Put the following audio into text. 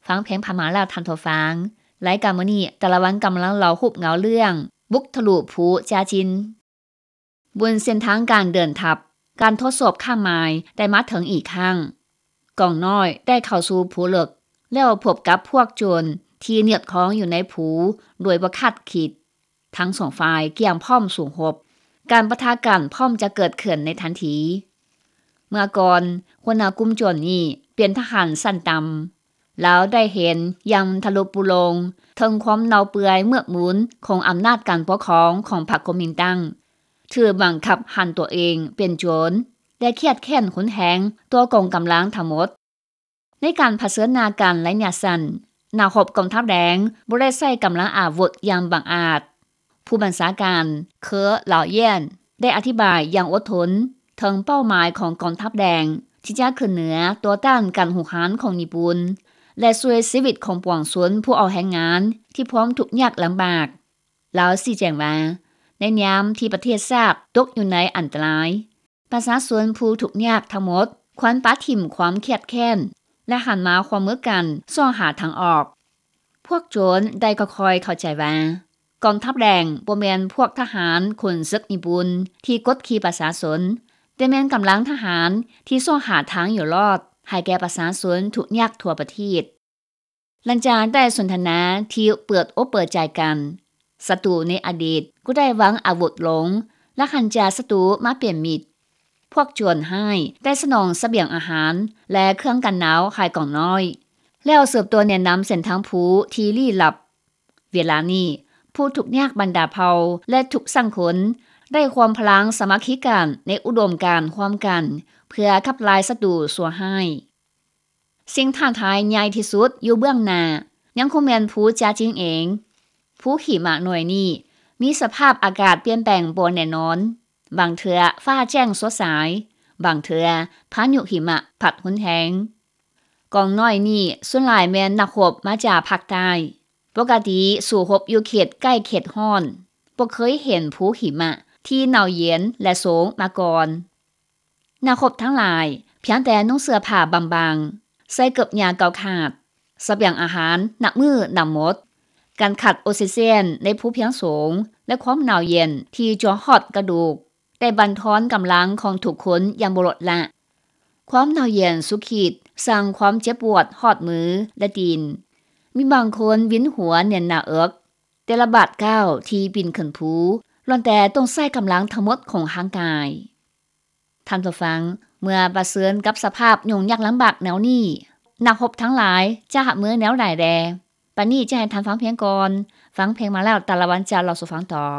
ຟັງເພງຜ່ານມາແລ້ວທ່ານຜູ້ຟັງ. ລາຍການມື້ນີ້ ຕາລະວັນກຳລັງເລົ່າຮູບເງົາເລື່ອງບຸກທະລຸພູຈາຈິນ. ບົນເສັ້ນທາງການເດີນທັບ, ການທົດສອບຂ້າມມາຍໄດ້ມາເຖິງອີກຄັ້ງ. ກອງນ້ອຍໄດ້ເຂົ້າສູ່ພູເລິກ ແລ້ວພົບກັບພວກໂຈນທີ່ເນຍບຄອງຢູ່ໃນພູໂດຍບໍ່ຄາດຄິດ. ທັງສອງຝ່າຍກຽມພ້ອມສູ້ຮົບ. ການປະທະກັນພ້ອມຈະເກີດຂຶ້ນໃນທັນທີ. ເມື່ອກ່ອນ, ຫົວໜ້າກຸ່ມໂຈນນີ້ເປັນທະຫານຊັ້ນຕ່ຳ. ລາວໄດ້ເຫັນຢ່າງທະລຸປຸໂລງເຖິງຄວາມເນົ່າເປື່ອຍເມືອກໝູນຂອງອຳນາດການປົກຄອງຂອງພັກຄອມມິນຕັງ, ຖືກບັງຄັບຫັນຕົວເອງເປັນໂຈນ ແລະ ຄຽດແຄ້ນຮຸນແຮງຕໍ່ກອງກຳລັງທັງໝົດ. ໃນການຜະເຊີນໜ້າກັນໄລຍະສັ້ນ, ນັກຮົບກອງທັບແດງບໍ່ໄດ້ໃຊ້ກຳລັງອາວຸດຢ່າງບັງອາດ. ຜູ້ບັນຊາການ ເຄີ ລາວເຢນ ໄດ້ອະທິບາຍຢ່າງອົດທົນເຖິງເປົ້າໝາຍຂອງກອງທັບແດງທີ່ຈະຂຶ້ນເໜືອຕໍ່ຕ້ານການຮຸກຮານຂອງຍີ່ປຸ່ນ ແລະ ຊ່ວຍຊີວິດຂອງປວງຊົນຜູ້ເອົາແຮງງານທີ່ພ້ອມທຸກຍາກລຳບາກ. ລາວຊີ້ແຈງວ່າ ໃນຍາມທີ່ປະເທດຊາດຕົກຢູ່ໃນອັນຕະລາຍ, ປະຊາຊົນຜູ້ທຸກຍາກທັງໝົດຄວນປະຖິ້ມຄວາມຄຽດແຄ້ນ ແລະ ຫັນມາຮ່ວມມືກັນຊອກຫາທາງອອກ. ພວກໂຈນໄດ້ຄ່ອຍໆເຂົ້າໃຈວ່າ ກອງທັບແດງບໍ່ແມ່ນພວກທະຫານຂົນເສິກຍີ່ປຸ່ນທີ່ກົດຂີ່ປະຊາຊົນ, ແຕ່ແມ່ນກຳລັງທະຫານທີ່ຊອກຫາທາງຢູ່ລອດໃຫ້ແກ່ປະຊາຊົນທຸກຍາກທົ່ວປະເທດ. ຫຼັງຈາກໄດ້ສົນທະນາທີ່ເປີດອົກເປີດໃຈກັນ, ສັດຕູໃນອະດີດກໍໄດ້ວາງອາວຸດລົງ ແລະ ຫັນຈາກສັດຕູມາເປັນມິດ. ພວກໂຈນຮ້າຍໄດ້ສະໜອງສະບຽງອາຫານ ແລະ ເຄື່ອງກັນໜາວໃຫ້ກອງນ້ອຍ, ແລ້ວສືບຕໍ່ແນະນຳເສັ້ນທາງພູທີ່ລີ້ລັບ. ເວລານີ້, ຜູ້ທຸກຍາກບັນດາເຜົ່າ ແລະ ທຸກສັງຄົນ ໄດ້ຮວມພະລັງສາມັກຄີກັນໃນອຸດົມການຮ່ວມກັນ ເພື່ອຂັບໄລ່ສັດຕູຊົ່ວຮ້າຍ. ສິ່ງທ້າທາຍໃຫຍ່ທີ່ສຸດຢູ່ເບື້ອງໜ້າ ຍັງຄົງແມ່ນພູຈາຈິງເອງ. ພູຫິມະໜ່ວຍນີ້ມີສະພາບອາກາດປ່ຽນແປງບໍ່ແນ່ນອນ, ບາງເທື່ອຟ້າແຈ້ງສົດໃສ, ບາງເທື່ອພາຍຸຫິມະພັດຮຸນແຮງ. ກອງນ້ອຍນີ້ສ່ວນຫຼາຍແມ່ນນັກຮົບມາຈາກພາກໃຕ້. ປົກກະຕິສູ້ຮົບຢູ່ເຂດໃກ້ເຂດຮ້ອນ, ບໍ່ເຄີຍເຫັນພູຫິມະທີ່ໜາວເຢັນ ແລະ ໂຊງມາກ່ອນ. ນັກຮົບທັງຫຼາຍພຽງແຕ່ນຸ່ງເສື້ອຜ້າບາງໆ, ໃສ່ເກີບຍາງເກົ່າຂາດ, ສະບຽງອາຫານນັບມື້ນັບໝົດ, ການຂາດອົກຊີເຈນໃນພູພຽງສູງ ແລະ ຄວາມໜາວເຢັນທີ່ຈົວຮອດກະດູກ ໄດ້ບັນທອນກຳລັງຂອງທຸກຄົນຢ່າງບໍ່ລົດລະ. ຄວາມໜາວເຢັນສຸດຂີດສ້າງຄວາມເຈັບປວດຮອດມື ແລະ ຕີນ. ມີບາງຄົນວິນຫົວແໜ້ນໜ້າເອິກ. ແຕ່ລະບາດກ້າວທີ່ປີນຂຶ້ນພູ ລ້ວນແຕ່ຕ້ອງໃຊ້ກຳລັງທັງໝົດຂອງຮ່າງກາຍ. ທ່ານຜູ້ຟັງ, ເມື່ອປະເຊີນກັບສະພາບຫຍຸ້ງຍາກລຳບາກແນວນີ້, ນັກຮົບທັງຫຼາຍຈະຮັບມືແນວໃດແດ່? ປານນີ້ຈະໃຫ້ທ່ານຟັງເພງກ່ອນ. ຟັງເພງມາແລ້ວ, ຕາລະວັນຈະເລົ່າສູ່ຟັງຕໍ່.